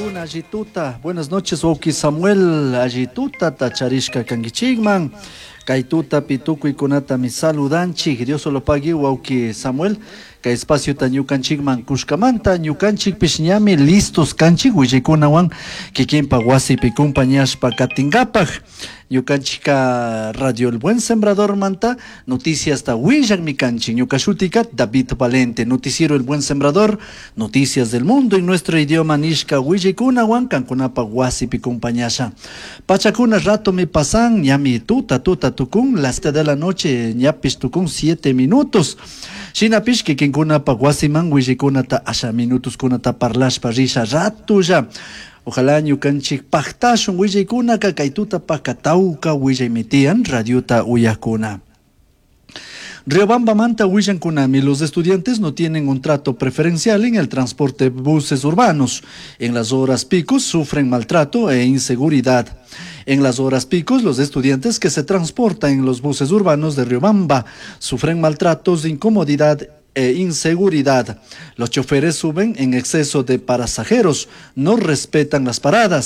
Wawkikuna alli tuta. Buenas noches, wawki Samuel. Alli tutata charishka kankichikman. Kay tutapi tukuykunatami saludanchik. Dios lo pague, wawki Samuel. Kay espaciota ñukanchikman kushkamanta ñukanchikpish ñami listos kanchik willaykunawan kikinpa wasipi compañashpa katinkapak. Ñukanchikka Radio El Buen Sembrador manta noticiasta willakmi kanchik. Ñuka shutika David Valente, noticiero El Buen Sembrador, noticias del mundo en nuestro idioma nishka willaykunawan kankunapa wasipi compañasha. Pachakuna ratomi pasan, ñami tuta tuta tukun, las 7 de la noche ñapish tukun 7 minutos. Shinapish kikinkunapa wasiman willaykunata asha minutoskunata parlashpa risha ratulla. Ojalá ñukanchik paktashun willaykunaka kay tutapaka tawka willaymi tiyan radiota uyakuna. Riobambamanta willankunami, los estudiantes no tienen un trato preferencial en el transporte de buses urbanos. En las horas picos sufren maltrato e inseguridad. En las horas picos, los estudiantes que se transportan en los buses urbanos de Riobamba sufren maltratos, incomodidad e inseguridad. Los choferes suben en exceso de pasajeros, no respetan las paradas.